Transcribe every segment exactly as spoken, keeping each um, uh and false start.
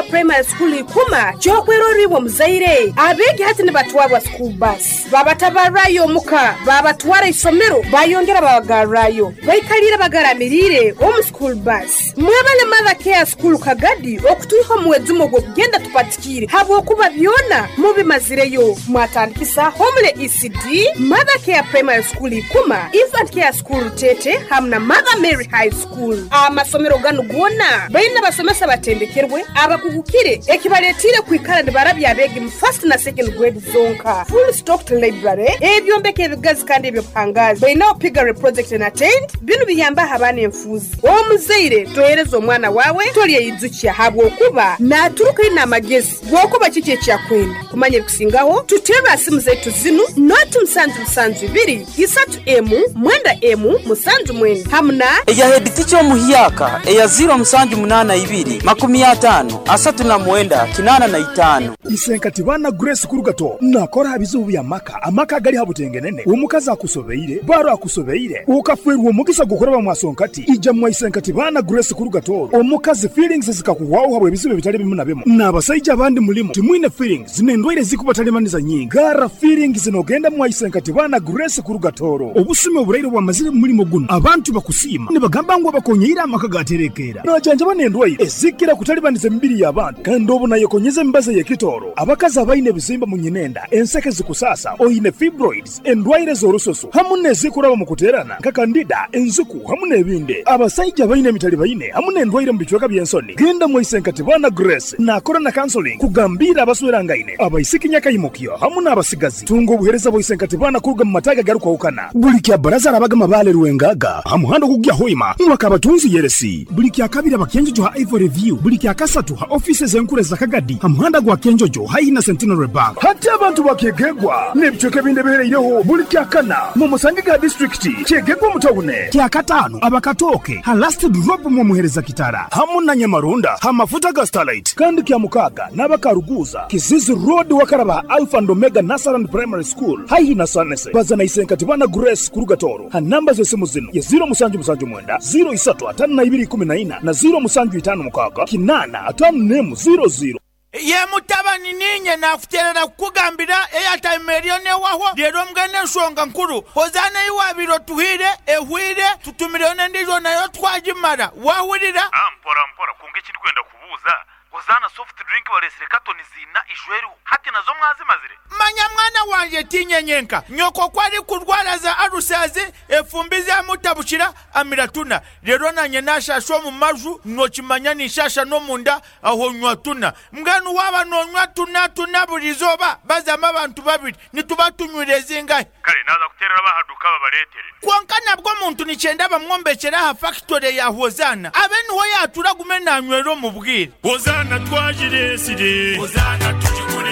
Primary School ikuma kyokweroribwa muzaire abegi hati nibatwarwa school bus babatabarayo muka babatwara isomero bayongera babagarrayo baikalira bagaramirire omu school bus. Mwebale Mother Care School Kagadi okutuiho muwezumo gw'okugenda tupatikire habwokuba byona mubimazireyo. Mwatandikisa Homele E C D, Mother Care Primary School ikuma, Infant Care School Tete hamna Mother Mary High School. Amasomero ganu gona baina basomesa batendekerwe abakugukire ekibaletire kwikara nibarabya abegi mu first na second grade zonka. Full stocked library ebyombeko ebigazi kandi ebyo pangazi baina Piggery project na tent binu biyamba abana enfuzi. Omuzaire tohereza omwana wawe tolyeyizukia habwokuba naturuka ina amagezi gwokuba kiki ekyakwenda kumanya ebikusingaho. Tutera simu zetu zinu noti musanju musanju ibiri isatu emu mwenda emu musanju mwenda hamna eya head teacher omuhyaka eya zero musanju munana ibiri makumi atano asatu na mwenda kinana na itano. Isenkati bana Grace Kurugato nakora bizubu bya maka amaka gali habutengenene omukazi akusobeire baro akusobeire ukafwerwa omugisa gukora bamwasonkati ija mwa Isenkati bana Grace Kurugato omukazi feelings zikakuwaho habwe bizubu bitali bimu na bimu n'abasajja abandi mulimo timwine feelings nendwaire zikubatalibaniza nyingi gara feelings nogenda mwa Isenkati bana Grace Kurugatoro obusime oburaire bwamazire mulimo guno abantu bakusima nibagamba ngo bakonyeira amaka gaterekera najanja banendwaire ezikira kutalibaniza emibiri y'abantu kandi obu nayekonyeza embaza y'ekitoro abakazi abaine ebizimba mu nyinenda enseke zikusasa oine fibroids endwaire z'orusoso hamu n'ezikuraba mu kuterana nka kandida enzuku hamu n'ebindi. Abasajja baine emitali baine hamu n'endwaire mu bicweka by'ensoni genda mu Isenkati bana Grace nakora na counseling kugambira abaswerangaine abaisiki nyakayimukyo hamu n'abasigazi tunga obuhereza bwa Isenkati bana kuruga mu mataga garukwahukana buli kya baraza arabagama bale Rwengaga hamuhando kugya hoima mwakabatunzi yeresi buli kya kabiri abakenjojo ha Ivory View buli kya kasatu ha offices enkure za Kagadi hamuhanda gwa Kenjojo haina Centenary Bank hati abantu bakegegwa n'ebicweka binde bihereireho buli kya kana mu musange ga district kyegegwa mutawune kya katano abakatoke ha last drop mu muhereza kitara hamu na Nyamarunda ha mafuta ga Starlight kandi kya mukaga n'abakaruguza Kizizi Road wakaraba Alpha and Omega Nasaran Primary School haihi na Sanese bazana Isenkati bana Grace Kurugatoro ha namba z'esimu zino ya zero musanju musanju mwenda zero isatu atano na ibiri kumi na ina na zero musanju itano mukaga kinana atano nemu zero zero. Ye mutabani ninye nakuterera kukugambira airtime eriyo newaho rero mbwene ensonga nkuru hozana iwabiro tuhire ehwire tutumireyo n'endijo nayo twagimara wahurira. Ah, mpora mpora kunga ekindi kwenda kubuuza hozana soft drink balesire katoni zina ijweru hati nazo mwazimazire. Manya mwana wanje tinyenyenka nyoko kwari kurwara za arusazi efumbi zamutabukira amiratuna rero nanye nashasha mu maju nokimanya nishasha no munda aho nywa tuna mbwenu waba nonywa tuna tuna burizoba bazama abantu babiri nituba tunywire zingahe. Kale naza kuterera bahaduka babaletere konka nabwo muntu nicyenda bamwombekera ha factory ya Hozana abe niho yatura gume nanywero mu bwire. Hozana twajiresire Hozana tujikure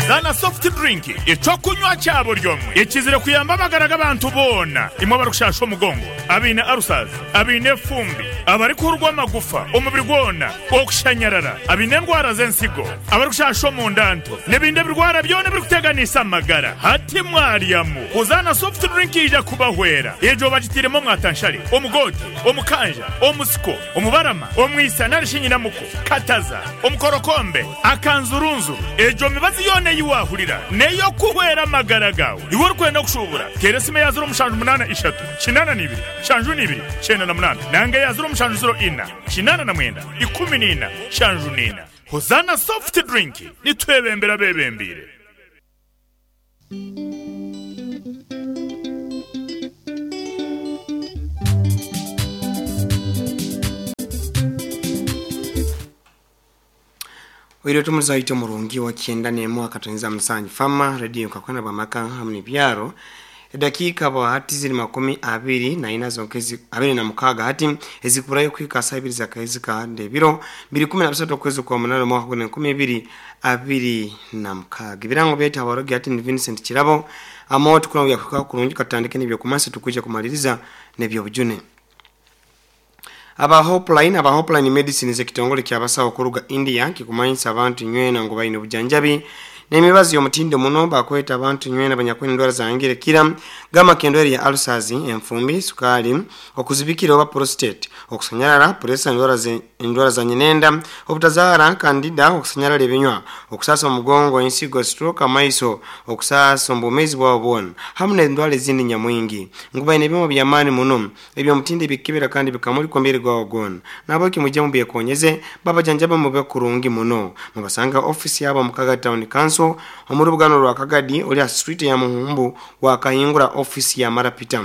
Zana soft drink ecokunywa cyabo ryomwe ekizire kuyamba amagara abantu bona imwe barukushasha omugongo abine arusaza abine fumbi abari kurwa amagufa omubiri gwona okushanyarara abine endwara z'ensigo abarikushasha omundanto n'ebindi birwara byona birikuteganisa amagara hati mwaryamu. Hozana soft drink ija kubahwera ejo bagitiremo mwatanshari omugote omukanja omusiko omubarama omwisa narishinyinamuko kataza omukorokombe akanzurunzuru ejo mibazi yone yiwahurira neyo kuhwera amagara gawe iwe urikwenda kushubura teresime ya zero mushanju munana ishatu kinana nibiri shanju nibiri cyenda na munana nange ya zero mushanju zero ina kinana na mwenda ikumi nina shanju nina. Hozana soft drink nitwebembera bebembire. Wiro tumuza ito murungi wa kienda nemo akatanza msanyi fama radio kakwana bamaka hamni byaro dakika ba hati ziri makumi abiri na ina zonkezi abiri na mukaga hati ezikurayo kwika saa ibiri za kaezi ka ndebiro mbiri kumi na bisatu kwezi kwa munane mwaka kumi na kumi ibiri abiri na mukaga ibirango byeta abarogi hati ni Vincent Kirabo amo tukuna yakuka kurungi katandike nibyo kumansi tukuja kumaliriza nebyo bujune. Aba Hopeline aba Hopeline Medicine ze kitongole kyabasawo kuruga India kikumanyisa abantu nywena ngo bayine bujanjabi N'emibazi y'omutindo muno bakweta abantu nywena abanyakwine endwara zangire kira gama kendwere ya ulcers, enfumbi, sukali, okuzibikira oba prostate, okusanyarara, pressure, endwara ze endwara za nyenenda, obutazara, candida, okusanyarara ebinywa, okusasa omugongo, ensigo, stroke, amaiso, okusasa ombumezi bwabo bwona hamu n'endwara ezindi nyamwingi. Ngu baine ebyoma by'amaani muno eby'omutindo ebikebera kandi bikamulika omubiri gwawe gwona. Nabweki mujye mubyekonyeze babajanjaba mube kurungi muno. Mubasanga ofisi yabo mu Kagadi Town Council omu rubugano rwa Kagadi oli ha street ya Muhumbu wakahingura ofisi ya Marapita.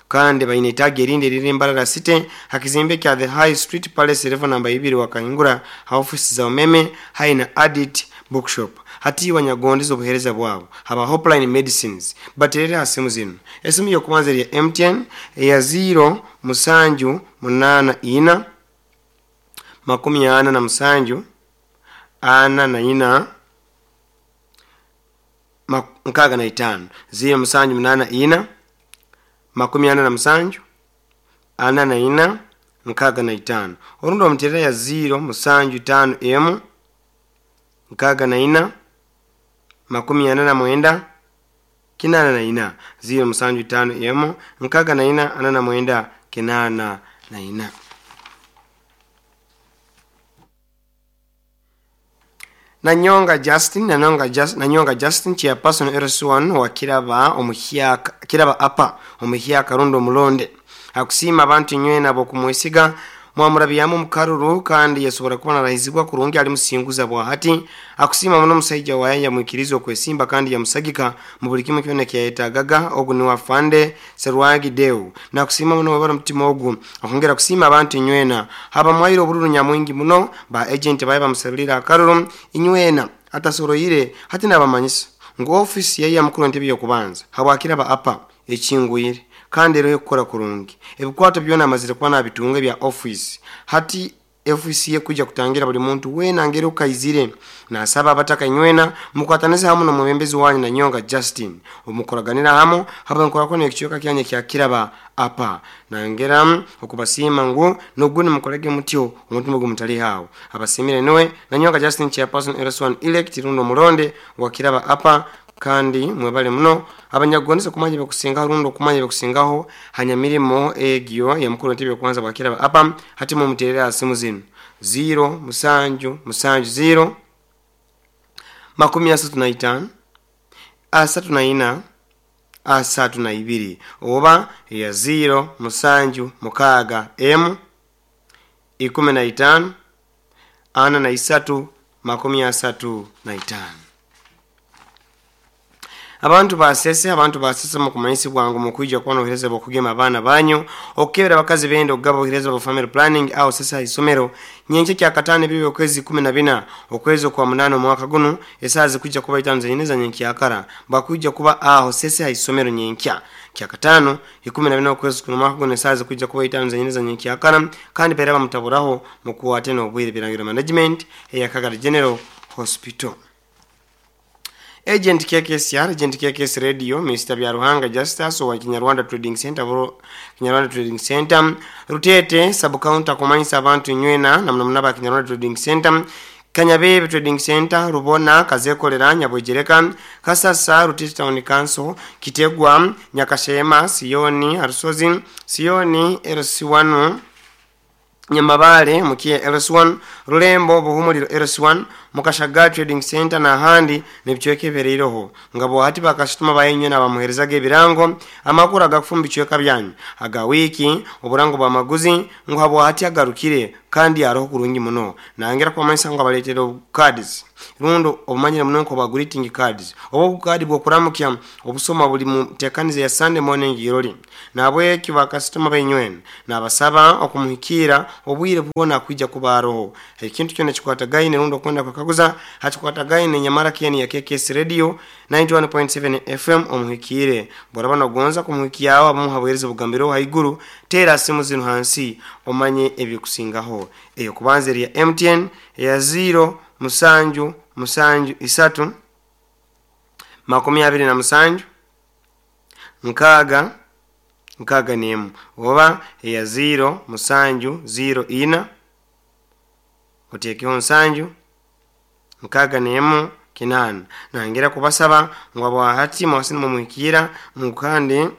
Kandi baine itaagi erindi eriri Mbarara City hakizimbe kya The High Street Palace level namba ibiri wakahingura ha ofisi za umeme haina Adit Bookshop. Hati wanyagondeza obuhereza bwabo haba Hopeline Medicines baterere ha simu zino. Esimu yokubanza ya M T N ya zero musanju munana ina makumi ana na musanju ana na ina nkaga na itano zero musanju munana ina makumi ana na musanju ana na ina nkaga na itano. Orundo omuterera ya zero musanju tano emu nkaga na ina makumi ana na mwenda kinana na ina zero musanju tano emu nkaga na ina ana na mwenda kinana na ina. Nanyonga Justin, Nanyonga Justin, Nanyonga Justin chairperson R S one wa Kiraba omuhyaka Kiraba apa omuhyaka rundo mulonde akusima abantu nywena bokumwesiga mwamurabyamu mukaruru kandi yasobora kubona rahizibwa kurungi ali musinguza bwa hati. Akusima muno musajja waye yamwikiriza okwesimba kandi yamusagika mu buli kimu kyona kyayetagaga ogu ni wafande Serwagi Deu. Na kusima muno wabara mutima ogu akongera kusima abantu nywena haba mwairo obururu nyamwingi muno ba agent baye bamusabirira akaruru inywena atasoroyire hati nabamanyisa ngo office yayi yamukuru ntebe yokubanza habwakira ba apa ekingwire kandi rero kukora kurungi ebikwato byona amazire kuba nabitunga bya office hati office ye kuja kutangira buli muntu wena ngero kaizire. Na saba abataka nywena mukwataneze hamu no mubembezi wanyu na Nyonga Justin omukoraganira hamu haba nkora kono ekichoka kyanye kya Kiraba apa nangera okubasima ngu noguni mukolege mutyo omutima gumutali hawo abasimire nowe na Nyonga Justin chairperson R S one elect rundo mulonde wa Kiraba apa. Kandi mwebale muno abanyagondeza kumanya bekusinga rundo kumanya bekusingaho hanya mirimo egyo ya mukuru ntebe kwanza bakira apa hati mu muterera simu zino zero musanju musanju zero makumi asatu na itano asatu na ina asatu na ibiri oba ya zero musanju mukaga m ikumi na itano ana na isatu makumi asatu na itano. Abantu basese abantu basese mu kumanyisi bwangu mu kwijja kubona obuhereza bw'okugema abaana banyu okukebera abakazi benda okugaba obuhereza bwa family planning aho sesa isomero nyenkya kya katano ebibi okwezi kumi na bina okwezi kwa munana omwaka guno esaaha zikujja kuba itaano zenyine za nyenkyakara bakujja kuba aho sesa isomero nyenkya kya katano ikumi na bina okwezi kuno omwaka guno esaaha zikujja kuba itaano zenyine za nyenkyakara kandi pera bamutaburaho mu kuwate n'obwire birangiro management eya Kagadi General Hospital. Agent K K S R, Agent K K S Radio, Mister Byaruhanga Justus wa Kinyarwanda Trading Center, bro, Kinyarwanda Trading Center, Rutete sub counter kumanyisa abantu nywena na mnamnaba Kinyarwanda Trading Center, Kanyabebe Trading Center, Rubona, Kazekolera, Nyabwejereka, Kasasa, Rutete Town Council, Kitegwa, Nyakashema, Sioni, Arusozi, Sioni, L C one, Nyamabale, Mukie L S one, Rulembo, Buhumuliro L S one, Mukashaga Trading Center na handi nebichweke bereiroho. Ngabo hati bakasituma bayenyo na bamuherezaga ebirango amakuru agakufumba bichweka byanyu aga wiki oburango bwa maguzi ngo habo hati agarukire kandi aroho kurungi muno. Nangera kwa manisa ngo abaletera cards rundo obumanyira muno ko ba greeting cards obo card bwo kuramukya obusoma buli mu tekanize ya Sunday morning irori. Nabwe kiba customer bayinywen nabasaba okumuhikira obwire bwona kwijja kubaroho ekintu kyona kikwatagaine rundo kwenda kwakaguza hakikwatagaine nyamara kieni ya K K S Radio ninety one point seven F M omuhikire boraba nogonza kumuhikiyawo abamuhabwereza obugambiro haiguru tera simu zino hansi omanye ebikusingaho. Eyo kubanza ya M T N ya zero musanju musanju isatu makumi abiri na musanju nkaga nkaga nemu oba ya zero musanju zero ina otekeho nsanju nkaga nemu kinana. Nangira kubasaba ngu abwahati mwasini mumuhikira mukandi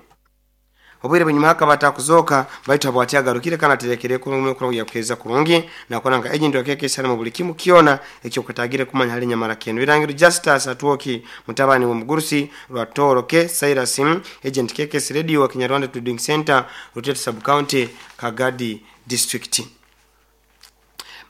obwire bunyuma akabata kuzoka baitu abwati agarukire kana terekere kurungi kurungi yakuheza kurungi nakona nka agent wa K K mu buli kimu kiona ekyo kutagire kumanya hali nyamara kenu birangiro Justus Atwoki mutabani wa Mugurusi Rwatoro K Cyrus agent K K Radio wa Kinyarwanda Trading Center, Rutete Sub County, Kagadi District.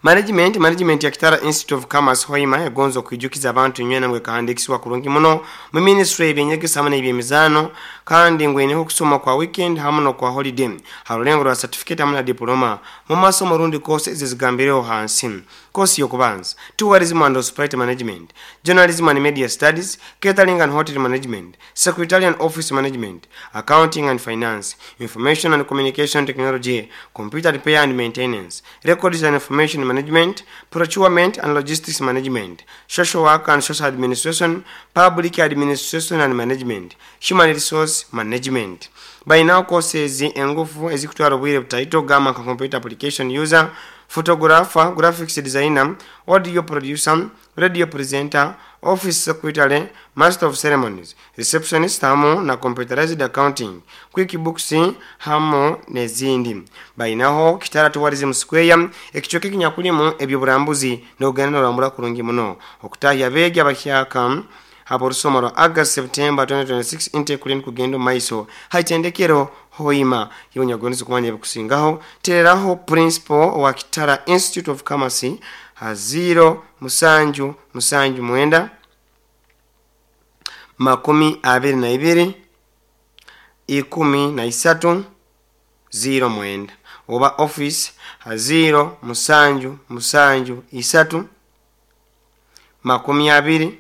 Management management ya Kitara Institute of Commerce Hoima yagonzo kwijukiza abantu nywena mwe kahandikiswa kurungi muno mu ministry ebyenyegesa hamwe n'ebyemizano kandi ngweneho kusoma kwa weekend hamwe no kwa holiday harulengo rwa certificate hamwe na diploma mu masomo rundi course zizigambireho hansi. Course yokubanza: tourism and hospitality management, journalism and media studies, catering and hotel management, secretarial and office management, accounting and finance, information and communication technology, computer repair and maintenance, records and information management, procurement and logistics management, social work and social administration, public administration and management, human resource management. By now courses engufu ezikutwara obwire butaito gamba nka computer application user, photographer, graphics designer, audio producer, radio presenter, office secretary, master of ceremonies, receptionist hamu na computerized accounting, QuickBooks hamu n'ezindi. Bainaho Kitara Tourism Square ekicoke kinyakulimu ebyoburambuzi n'ogenda norambura kurungi muno. Okutahya abeegi abahyaka abo rwa August September twenty twenty-six intake kulini kugenda omu maiso haitendekero Hoima. Iwe kumanya ebikusingaho tereraho principal wa Kitara Institute of Commerce ha zero musanju musanju mwenda makumi abiri na ibiri ikumi na isatu zero mwenda oba office ha zero musanju musanju isatu makumi abiri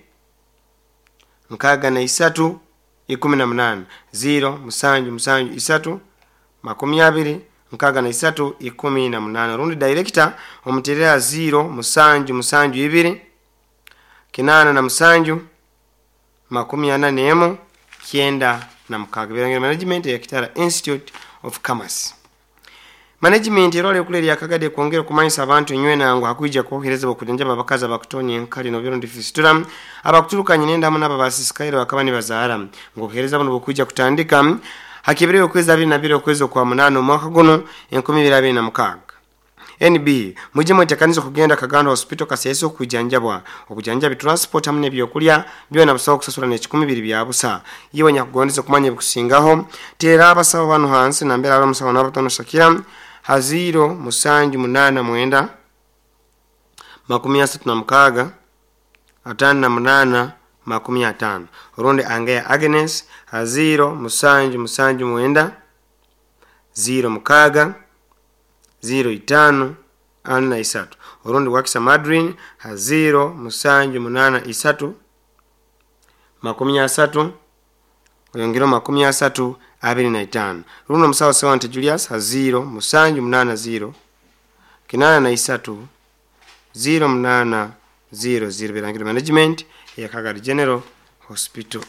nkaaga na isatu ikumi na munana, zero musanju musanju isatu makumi abiri nkaaga na isatu ikumi na munana, rundi director omuterera zero musanju musanju ibiri kinana na musanju makumi ana nemu kyenda na mukaaga. Birangiro management ya Kitara Institute of Commerce. Management erwala ekula erya Kagadi kwongera okumanyisa abantu enywena ngu hakwija kwohereza okujanjaba abakazi abakutonya enkali nobyero fistula abakuturukanye nendamu n'abo basisikaire bakaba nibazaara ngu obuhereza buno bukwija kutandika hakibireyo okwezi abiri na biri okwezi okwa munaana omwaka guno enkumi ibiri abiri na mukaaga. N B mujye mwetekaniza okugenda Kagando Hospital Kasese okujanjabwa. Obujanjabi, transport hamwe n'ebyokulya byona busawo okusasula n'ekikumi biri bya busa. Iwe nyakugondeza okumanya ebikusingaho teera abasawo bano hansi nambere ari omusawo n'abatono Shakira ha zero musanju munana mwenda makumi asatu na mukaaga atano na munana makumi atano, orundi Angeya Agnes ha zero musanju musanju mwenda zero mukaaga zero itano ana na isatu, orundi Wakisa Madrin ha zero musanju munana isatu makumi asatu oyongero makumi asatu abiri na itano, rundi omusawo Sewante Julius ha zero musanju munana zero kinana na isatu zero munana zero zero. Birangiro management ya Kagadi General Hospital.